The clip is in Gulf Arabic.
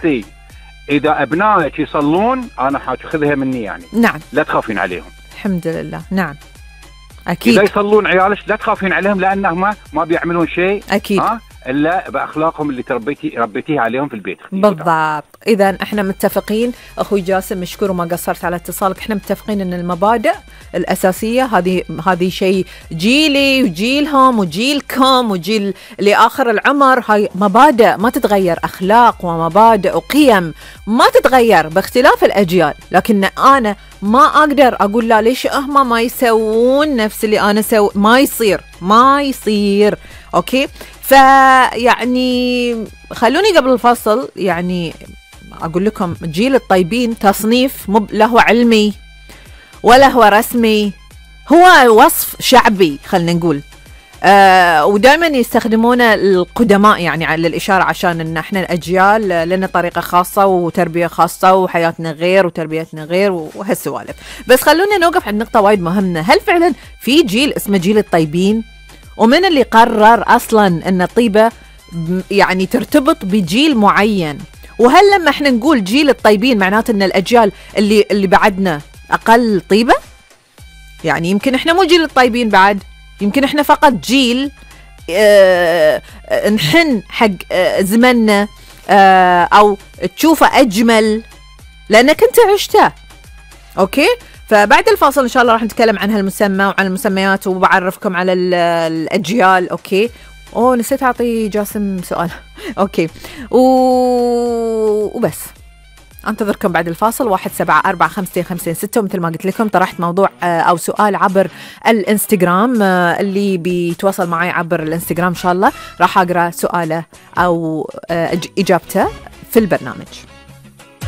بنتي إذا أبنائك يصلون أنا حاخذها مني يعني. نعم. لا تخافين عليهم. الحمد لله. نعم أكيد. إذا يصلون عيالك لا تخافين عليهم لأنهم ما بيعملون شيء أكيد إلا بأخلاقهم اللي ربيتيه عليهم في البيت. بالضبط. إذا إحنا متفقين أخوي جاسم، مشكور وما قصرت على اتصالك. إحنا متفقين أن المبادئ الأساسية هذه شيء جيلي وجيلهم وجيلكم وجيل لآخر العمر. هاي مبادئ ما تتغير، أخلاق ومبادئ وقيم ما تتغير باختلاف الأجيال. لكن أنا ما أقدر أقول لا ليش هم ما يسوون نفس اللي أنا سوي. ما يصير. أوكي. فيعني خلوني قبل الفصل يعني أقول لكم جيل الطيبين تصنيف مو له علمي ولا هو رسمي، هو وصف شعبي خلنا نقول. ودائما يستخدمونه القدماء يعني على الإشارة عشان إن إحنا الأجيال لنا طريقة خاصة وتربية خاصة وحياتنا غير وتربيتنا غير وهالسوالف. بس خلونا نوقف عند نقطة وايد مهمة. هل فعلا في جيل اسمه جيل الطيبين؟ ومن اللي قرر أصلا أن الطيبة يعني ترتبط بجيل معين؟ وهل لما احنا نقول جيل الطيبين معناته أن الأجيال اللي بعدنا أقل طيبة؟ يعني يمكن احنا مو جيل الطيبين بعد، يمكن احنا فقط جيل نحن حق زمننا أو تشوفه أجمل لأنك أنت عشته. أوكي. فبعد الفاصل إن شاء الله راح نتكلم عن هالمسمى وعن المسميات وبعرفكم على الأجيال. أوكي. نسيت أعطي جاسم سؤال. أوكي. وبس أنتظركم بعد الفاصل. 174556 ومثل ما قلت لكم طرحت موضوع أو سؤال عبر الانستغرام. اللي بيتواصل معي عبر الانستغرام إن شاء الله راح أقرأ سؤاله أو إجابته في البرنامج.